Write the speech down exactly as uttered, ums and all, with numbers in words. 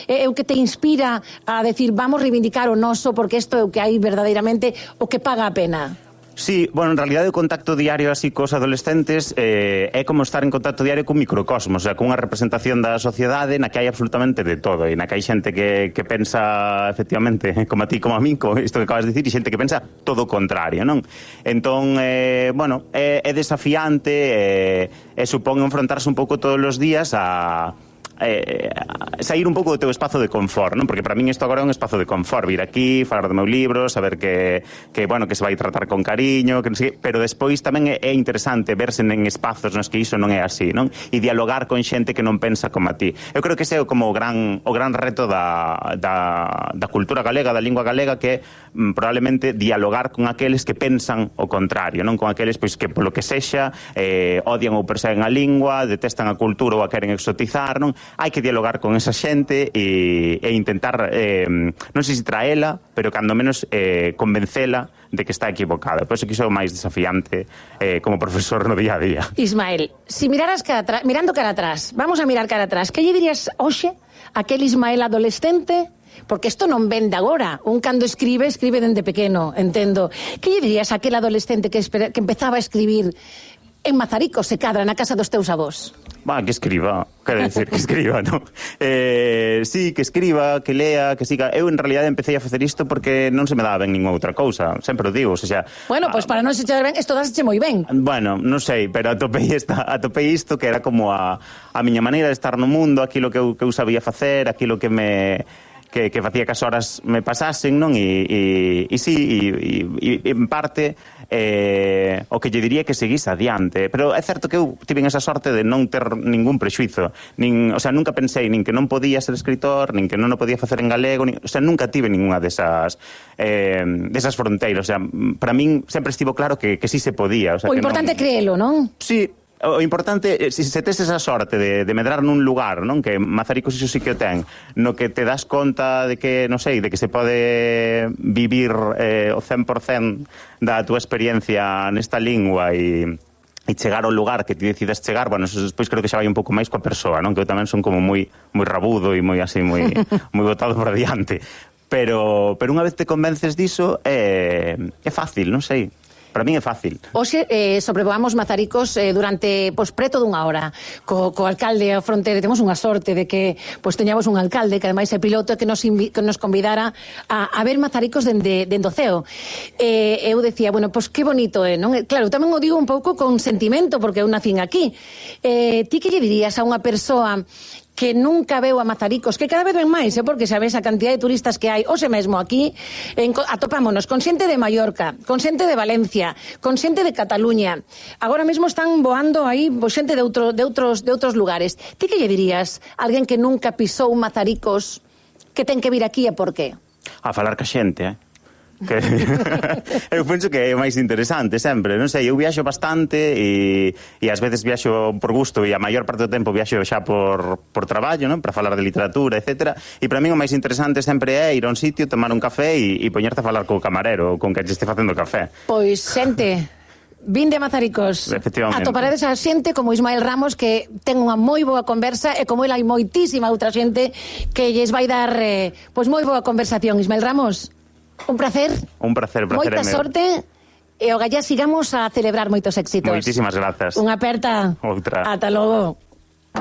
é o que te inspira a decir vamos reivindicar o noso porque isto é o que hai verdadeiramente o que paga a pena? Sí, bueno, en realidad o contacto diario así cos adolescentes eh, é como estar en contacto diario cun microcosmos, o sea, cunha representación da sociedade na que hai absolutamente de todo e na que hai xente que, que pensa efectivamente como a ti, como a mí, como isto que acabas de dicir, e xente que pensa todo o contrario, non? Entón, eh, bueno, é, é desafiante e, e supón enfrontarse un pouco todos os días a... Eh, sair un pouco do teu espazo de confort, non? Porque para min isto agora é un espazo de confort, vir aquí, falar do meu libro, saber que, que bueno, que se vai tratar con cariño, que non sei, pero despois tamén é, é interesante verse en espazos nos que iso non é así, non? E dialogar con xente que non pensa como a ti. Eu creo que ese é como o gran, o gran reto da, da, da cultura galega, da lingua galega, que é mm, probablemente dialogar con aqueles que pensan o contrario, non? Con aqueles pois que polo que sexa eh, odian ou perseguen a lingua, detestan a cultura ou a queren exotizar, non? Hai que dialogar con esa xente e, e intentar, eh, non sei se traela, pero cando menos eh, convencela de que está equivocada. Por eso que iso é o máis desafiante eh, como profesor no día a día. Ismael, si miraras cara atrás, mirando cara atrás, vamos a mirar cara atrás, que lle dirías hoxe aquel Ismael adolescente? Porque isto non ven de agora. Un cando escribe, escribe dende pequeno, entendo. Que lle dirías aquel adolescente que, espera, que empezaba a escribir en Mazaricos, se cadra, na casa dos teus avós? Va, que escriba, quero decir, que escriba, non? Eh, sí, que escriba, que lea, que siga. Eu, en realidad, empecé a facer isto porque non se me daba ben ninguna outra cousa. Sempre o digo, o sea... Bueno, pois pues para non se echar ben, isto dáseche moi ben. Bueno, non sei, pero atopei, esta, atopei isto que era como a, a miña maneira de estar no mundo, aquilo que eu, que eu sabía facer, aquilo que me... que, que facía que as horas me pasasen, non? E, e, e sí, e, e, e en parte eh, o que lle diría que seguís adiante. Pero é certo que eu tive esa sorte de non ter ningún prexuizo. Nin, o sea, nunca pensei nin que non podía ser escritor, nin que non o podía facer en galego, nin, o sea, nunca tive ninguna desas, eh, desas fronteiras. O sea, para min sempre estivo claro que, que sí se podía. O, sea, o importante é non... creelo, non? Sí. O importante, se se tes esa sorte de, de medrar nun lugar, non? Que Mazaricos iso sí que o ten, no que te das conta de que, non sei, de que se pode vivir eh, o cen por cento da túa experiencia nesta lingua e, e chegar ao lugar que ti decidas chegar, bueno, eso despois creo que xa vai un pouco máis coa persoa, non? Que eu tamén son como moi moi rabudo e moi así, moi moi botado por adiante. Pero, pero unha vez te convences diso, é, é fácil, non sei. Para mí é fácil. Hoxe eh, sobrevoamos Mazaricos eh, durante pois, preto dunha hora co, co alcalde a fronteira. Temos unha sorte de que pois, teñamos un alcalde que ademais é piloto que nos, invi que nos convidara a, a ver Mazaricos dende, dende o ceo. Eh, eu decía, bueno, pois que bonito é, non? Claro, tamén o digo un pouco con sentimento porque eu nacín aquí. Eh, ti que lle dirías a unha persoa que nunca veu a Mazaricos, que cada vez ven máis, eh, porque sabes a cantidad de turistas que hai, hoxe mesmo aquí, en, atopámonos con xente de Mallorca, con xente de Valencia, con xente de Cataluña, agora mesmo están voando aí pues, xente de, outro, de, outros, de outros lugares. Ti que lle dirías a alguén que nunca pisou Mazaricos, que ten que vir aquí e por qué? A falar ca xente, eh? Que eu penso que é o máis interesante sempre, non sei, eu viaxo bastante e, e ás veces viaxo por gusto e a maior parte do tempo viaxo xa por, por traballo, non? Para falar de literatura, etcétera. E para mí o máis interesante sempre é ir a un sitio, tomar un café e, e poñerte a falar co camarero ou con que te este facendo café. Pois, xente, vinde a Mazaricos. Atoparedes a xente como Ismael Ramos que ten unha moi boa conversa e como ele hai moitísima outra xente que lles vai dar eh, pois moi boa conversación. Ismael Ramos, un placer. Un placer, placer. Moita sorte e o gallá sigamos a celebrar moitos éxitos. Moitísimas grazas. Unha aperta. Outra. Ata logo.